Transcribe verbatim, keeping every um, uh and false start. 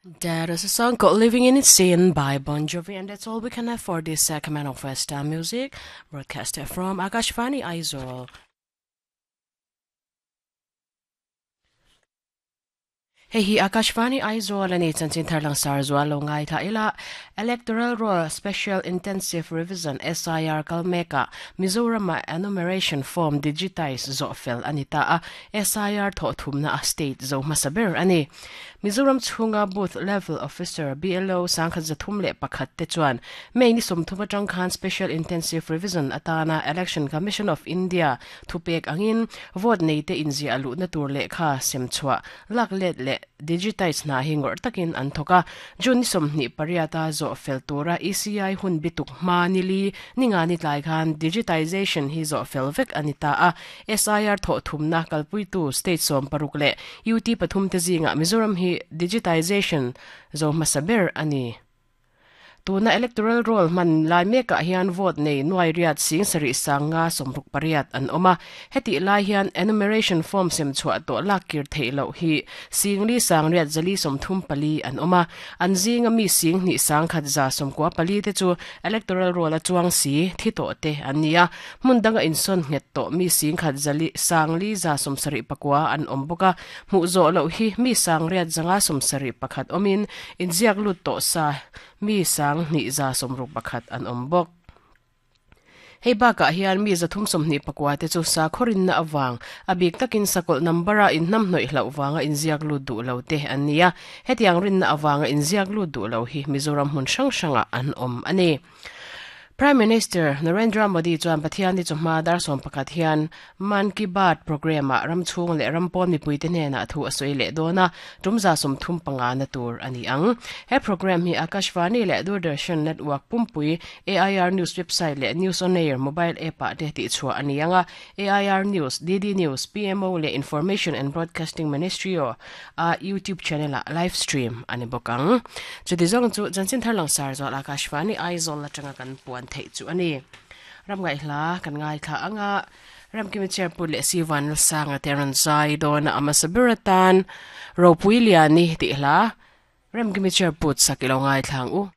That is a song called Living in Sin by Bon Jovi, and that's all we can have for this segment of Western music, broadcasted from Akashvani Aizawl. Hei hi Akashvani Aizawl ani chanchin tharlang sar zual lo ngai tha ila Electoral Roll Special Intensive Revision S I R kalmeka Mizoram enumeration form digitize zo fel anita a S I R tho thumna a state zo masaber ani Mizoram chhunga booth level officer B L O sangkhat zathum le pakhat te chuan mei ni somthuma tang khan Special Intensive Revision atana Election Commission of India thupek angin vote nei te inzi alu na tur le kha semchua lak let le digitize na hingor takin an thoka jun somni pariata zo feltura E C I hun bituk manili ninga ni tlai khan digitization hi zo felvek anita a S I R tho thumna kalpui tu state som paruk le U T pathum te zinga Mizoram hi digitization zo masaber ani tuna electoral roll man lai meka hian vote nei nuai riat sing sari sanga somruk pariat an oma heti lai hian enumeration form sem chua to lakir theilo hi singli sang riat zali somthum pali an oma an zinga mi sing ni sang khat za somkwa pali te chu electoral roll a chuang si thi to te ania mundanga inson nget to mi sing khat zali sangli za somsari pakwa an omboka mu zo lo hi mi sang riat zanga somsari pakhat omin inziak lut to sa mi sang ni za somruk pakhat an ombok hei baka hian mi zathum somni pakwa te chu sa khorin na awang abik takin sakol nambara in nam noi hlau wanga in ziak lu du lo te ania hetiang rin na awanga in ziak lu du lo hi Mizoram hun sang sanga an om ani Prime Minister Narendra Modi chuan Pathian ni chuma dar som pakhat hian Man Ki Baat program a ramchhung le rampon mipui te hnena thu asoi le dona tumza som thum panga na tur ani ang he program hi Akashvani le Doordarshan Network pumpui A I R News website le News on Air mobile app a te ti chua ani anga A I R News D D News P M O le Information and Broadcasting Ministry o a YouTube channel a live stream ani bokang chuti zong chu chanchin tharlang sar zo Akashvani Aizawl la tanga kan puan thei chu ani ram ngai hla kan ngai kha anga ram kimi chair pu le siwan sanga teran zai don amasabiratan ropuiliani ti hla ram kimi chair put sakilo ngai thlang u.